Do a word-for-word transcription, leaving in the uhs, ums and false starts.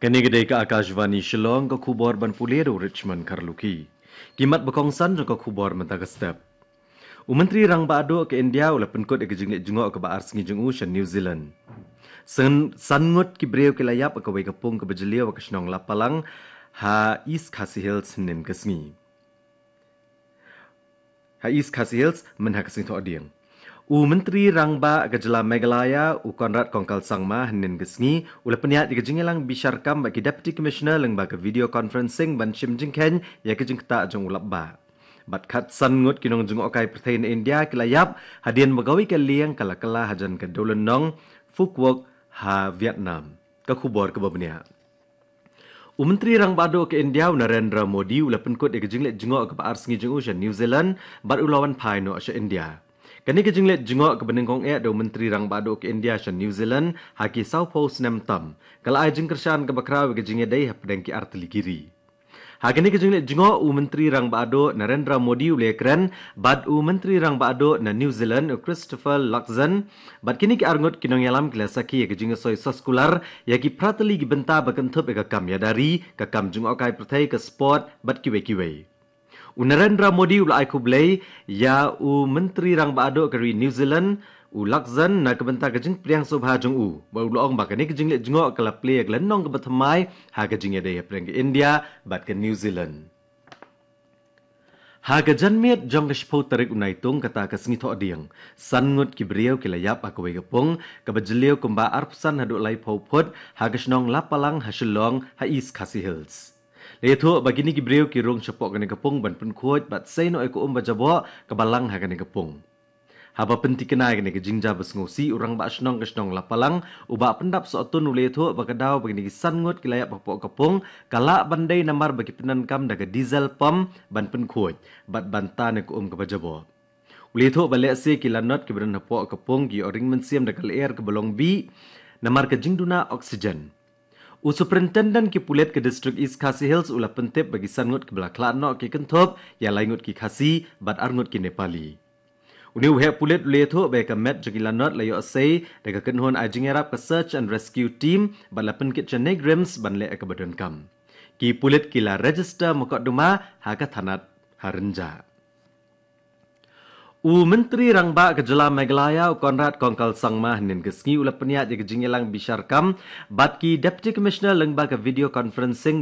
Kane ka dei ka Akashvani Shillong, ka khubor ban pule da u Richmond Kharlukhi. Ki mat ba kongsan jong ka khubor mynta ka step. U Myntri Rangbah Duh ka India u la pynkut ïa ka jingleit jngoh kaba ar sngi jong u sha New Zealand. San, san ngut ki briew ki la ïap ha kawei ka pung kaba jylliew ha ka shnong Lapalang ha East Khasi Hills hynnin ka sngi. Ha East Khasi Hills mynha ka sngi Thohdieng. U Myntri Rangbah ka jylla Meghalaya u Conrad Kongkal Sangma hynnin ka sngi u la pynïaid ïa ka jingïalang bishar kam bad ki Deputy Commissioner lyngba ka video conferencing ban shim jingkheiñ ïa ka jingktah jong u lapbah. Bad khatsan ngut ki nongjngohkai pyrthei na India ki la ïap hadien ba kawei ka lieng ka la kylla hajan ka dewlynnong Phu Quoc ha Vietnam. Ka khubor kaba bniah. U Myntri Rangbah Duh ka India u Narendra Modi u la pynkut ïa ka jingleit jngoh kaba ar sngi jong u sha New Zealand bad u la wan phai noh sha India. Kane ka jingleit jngoh kaba nyngkong eh da u Myntri Rangbah Duh ka India sha New Zealand ha ki sawphew snem tam ka la ai jingkyrshan kaba khraw ïa ka jingïadei hapdeng ki artylli ki ri. Ha kane ka jingleit jngoh u Myntri Rangbah Duh Narendra Modi u la ïakren bad u Myntri Rangbah Duh na New Zealand u Christopher Luxon bad kine ki arngut ki nongïalam ki la sakhi ïa ka jingïasoi soskular ïa ki phra tylli ki bynta ba kynthup ïa ka kam ïada ri, ka kam jngohkai pyrthei, ka sport bad kiwei kiwei. U Narendra Modi u la ai khublei ïa u Myntri Rangbah Duh ka ri New Zealand u Luxon na ka bynta ka jingpdiang sngewbha jong u bad u la ong ba kane ka jingleit jngoh ka la plie ïa ka lynnong kaba thymmai ha ka jingïadei hapdeng ka India bad ka New Zealand. Ha ka janmiet jong ka shiphew tarik u Naitung kata ka sngi Thohdieng, san ngut ki briew ki la ïap ha kawei ka pung kaba jylliew kumba arphew san haduh laiphew phut ha ka shnong Lapalang ha Shillong ha East Khasi Hills. La ïathuh ba kine ki briew ki rung shapoh kane ka pung ban pynkhuid bad sei noh ïa ka um ba jaboh kaba lang ha kane ka pung. Haba pyntikna ïa kane ka jingjia ba sngewsih, u Rangbah Shnong ka shnong Lapalang u Bah Pyndap Sohtun u la ïathuh ba ka daw ba kine ki san ngut ki la ïap hapoh ka pung ka lah ban dei namar ba ki pyndonkam da ka diesel pump ban pynkhuid bad ban tan ïa ka um kaba jaboh. U la ïathuh ba lehse ki lanot kiba don hapoh ka pung ki ïoh ring mynsiem da ka lyer kaba long bih namar ka jingduna oxygen. U Superintendent ki pulit ka District East Khasi Hills u la pyntip ba ki san ngut kiba la khlad noh ki kynthup ïa lai ngut ki Khasi bad ar ngut ki Nepali. Une u heh pulit u la ïathuh ba ïa ka met jong ki lanot la ïoh sei da ka kynhun ai jingïarap ka Search and Rescue Team bad la pynkit sha NEIGRIHMS ban leh ïa kaba donkam. Ki pulit ki la register mukotduma ha ka thanat ha Rynjah. U Myntri Rangbah ka jylla Meghalaya u Conrad Kongkal Sangma hynnin ka sngi u la pynïaid ïa ka jingïalang bishar kam bad ki Deputy Commissioner lyngba ka video conferencing